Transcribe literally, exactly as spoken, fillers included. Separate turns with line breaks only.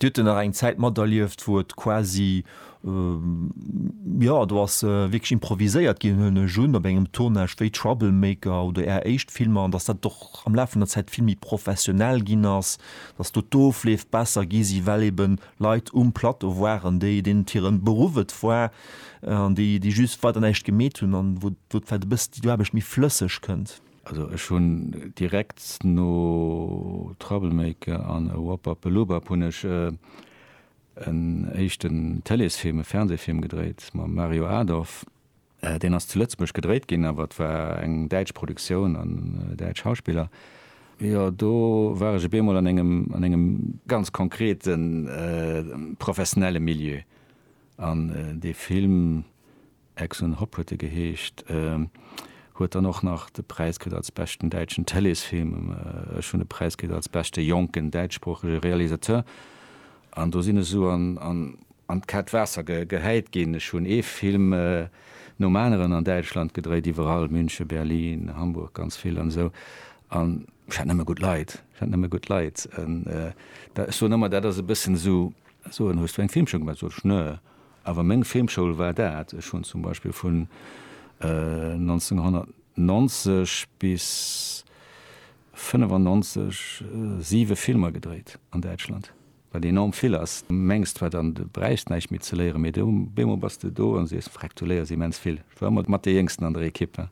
Dir hutt nach eng Zäit materlieft, wou et quasi, jo, do ass wierklech improviséiert ginn, huelen ech un, op engem Tournage wéi Troublemaker oder Är éischt Filmer, an datt dat och am Laf vun der Zäit vill méi professionell ginn ass, datt do d'Ofleef besser gi si well eben Leit um Plateau waren, déi, deenen et hiren Beruff et war an déi, déi just weider näischt gemeet hunn an wou, wou vläicht e bëssen déi Aarbecht méi flësseg kënnt.
Also ech hunn direkt no Troublemaker an Wop-Bap-a-Lubap hunn ech en éischten Tëleesfilm, e Fernsehfilm gedréit mam Mario Adorf. Deen ass zu Lëtzebuerg gedréit ginn, awer et war eng däitsch Produktioun an däitsch Schauspiller. Jo, do war ech op eemol an engem, an engem ganz konkreten professionelle Milieu. An dee Film, Ex und Hop huet e geheescht, huet dann och nach de Präis kritt als beschten däitschen Tëleesfilm. Ech hunn e Präis kritt als beschte jonken däitschsproochege Realisateur. An do sinn ech esou an, an, an d'kaalt Waasser ge, gehäit ginn. Ech hunn ee Film nom aneren an Däitschland gedréit, iwwerall, München, Berlin, Hamburg, ganz vill an esou. An ech hat nëmme gutt Leit, ech hat nëmme gutt Leit. An da, ech soen ëmmer, dat ass e bëssen esou, soen, hues du eng Filmschoul gemaach? Sot ech, nö. Awer meng Filmschoul war dat. Ech hunn zum Beispill vun nonzénghonnertnonzeg bis fënnefannonzeg siwe Filmer gedréit an Däitschland, wat enorm vill ass. Du mengs zwar dann, du bräichs näischt méi ze léieren, mee du, op eemol bass de do an sees, Freck, du léiers immens vill. Ech war ëmmer mat dee Jéngsten an der Equipe.